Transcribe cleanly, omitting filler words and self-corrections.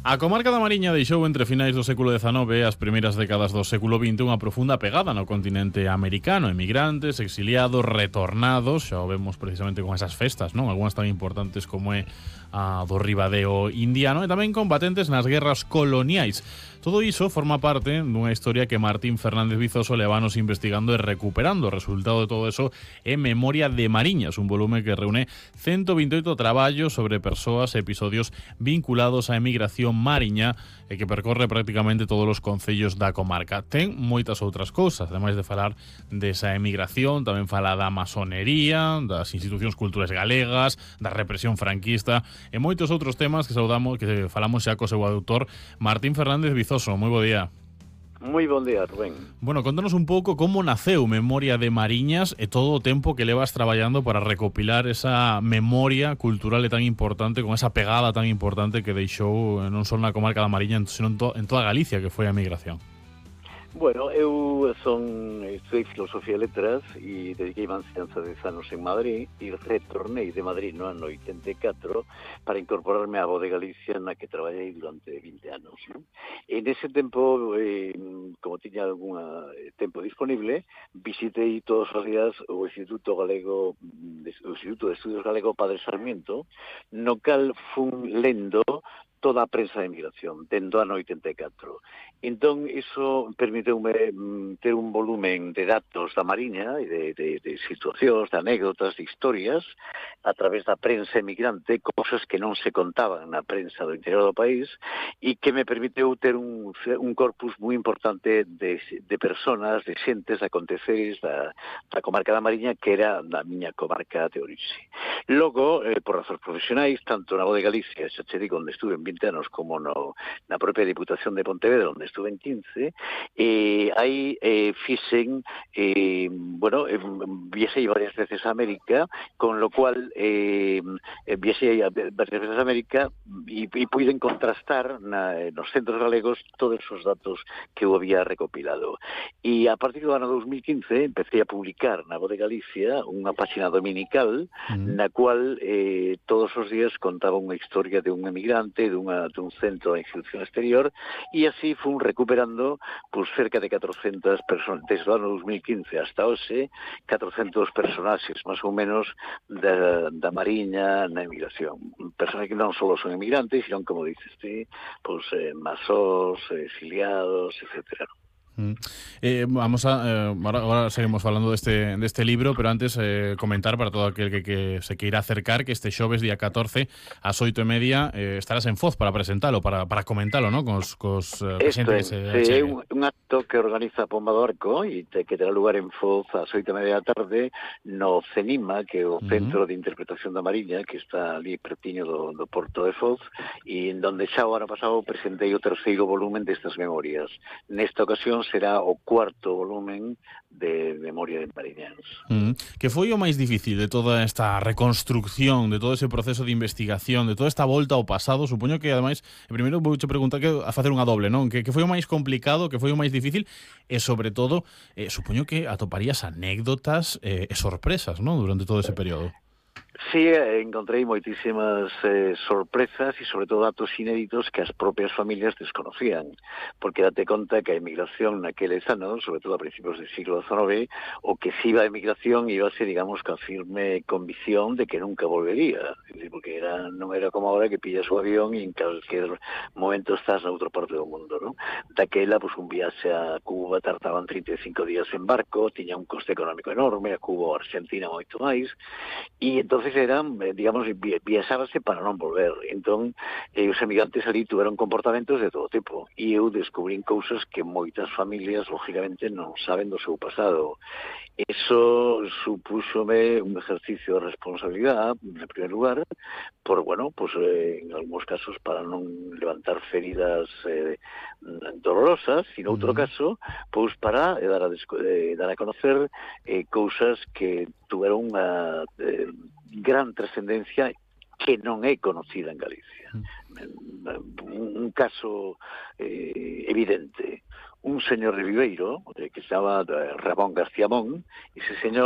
A comarca da Mariña deixou entre finais do século XIX e as primeiras décadas do século XX unha profunda pegada no continente americano. Emigrantes, exiliados, retornados, xa o vemos precisamente con esas festas, non? Algúnas tan importantes como é a do Ribadeo indiano, e tamén combatentes nas guerras coloniais. Todo iso forma parte dunha historia que Martín Fernández Vizoso levanos investigando e recuperando. O resultado de todo eso é Memoria de Mariñas, un volume que reúne 128 traballos sobre persoas e episodios vinculados á emigración mariña e que percorre prácticamente todos os concellos da comarca. Ten moitas outras cousas, ademais de falar desa emigración, tamén fala da masonería, das institucións culturais galegas, da represión franquista e moitos outros temas que saudamos, que falamos xa co seu autor Martín Fernández Vizoso. Moi bo día. Moi bon día, Rubén. Bueno, contanos un pouco como naceu Memoria de Mariñas e todo o tempo que levas traballando para recopilar esa memoria cultural e tan importante, con esa pegada tan importante que deixou non só na comarca da Mariña, senón en toda Galicia, que foi a emigración. Bueno, eu estudei Filosofía e Letras e dediquei a enseñanza 10 anos en Madrid e retornei de Madrid no ano 84 para incorporarme á Voz de Galicia na que traballei durante 20 anos. ¿No? En ese tempo, como tiña algún tempo disponible, visitei todos os días o Instituto de Estudios Galego Padre Sarmiento, no cal fun lendo toda a prensa de emigración, dentro do ano 84. Entón, iso permiteume ter un volumen de datos da Mariña e de situacións, de anécdotas, de historias, a través da prensa emigrante, cosas que non se contaban na prensa do interior do país, e que me permiteu ter un corpus moi importante de personas, de xentes, de aconteceres da comarca da Mariña, que era da miña comarca de orixe. Logo, por razóns profesionais, tanto na Voz de Galicia, xa che digo, onde estuve en 20 anos, como na propia Diputación de Pontevedra, onde estuve en 15, aí fixen, viaxei varias veces a América, con lo cual viaxei varias veces a América e puiden contrastar nos centros galegos todos os datos que eu había recopilado. E a partir do ano 2015 empecé a publicar na Voz de Galicia unha página dominical na cual todos os días contaba unha historia de un emigrante, dun centro de institución exterior, e así fun recuperando pues, cerca de 400 personas, desde o ano 2015 hasta hoxe, 400 personaxes, máis ou menos, da Mariña na emigración. Personas que non só son emigrantes, sino, como dices ti, pues, masós, exiliados, etcétera. Ahora seguimos falando deste libro, pero antes comentar para todo aquel que se queira acercar que este xoves día 14 ás 8:30 estarás en Foz para presentalo, para comentalo, ¿no? Cos xente que se é un acto que organiza Pomba do Arco e que terá lugar en Foz ás 8:30 da tarde no CENIMA, que é o Centro de Interpretación da Mariña, que está ali pertiño do Porto de Foz, e en donde xa o ano pasado presentei o terceiro volumen destas memorias. Nesta ocasión será o cuarto volumen de Memoria de Mariñas. Que foi o máis difícil de toda esta reconstrucción, de todo ese proceso de investigación, de toda esta volta ao pasado? Supoño que, ademais, primeiro vouche preguntar que a facer unha doble, non? Que foi o máis complicado, que foi o máis difícil, e, sobre todo, supoño que atoparías anécdotas e sorpresas, non? Durante todo ese período. Sí, encontrei moitísimas sorpresas e, sobre todo, datos inéditos que as propias familias desconocían, porque date conta que a emigración naqueles anos, sobre todo a principios del siglo XIX, o que se iba a emigración ibase, digamos, ca firme convicción de que nunca volvería, porque non era como ahora que pillas o avión e en calquer momento estás na outra parte do mundo, non? Daquela, pues, un viaxe a Cuba tardaban 35 días en barco, tiña un coste económico enorme, a Cuba ou a Argentina moito máis, e entón eran, digamos, viaxábase para non volver. Entón, os emigrantes ali tuveron comportamentos de todo tipo. E eu descubrín cousas que moitas familias, lógicamente, non saben do seu pasado. Eso supúxome un ejercicio de responsabilidade, en primer lugar, por, bueno, pues, en algúns casos para non levantar feridas dolorosas, e en outro caso, pues, para dar a conocer cousas que tuveron unha gran trascendencia que non é conocida en Galicia. Un caso evidente. Un señor de Viveiro, que se chama Ramón García Mon, ese señor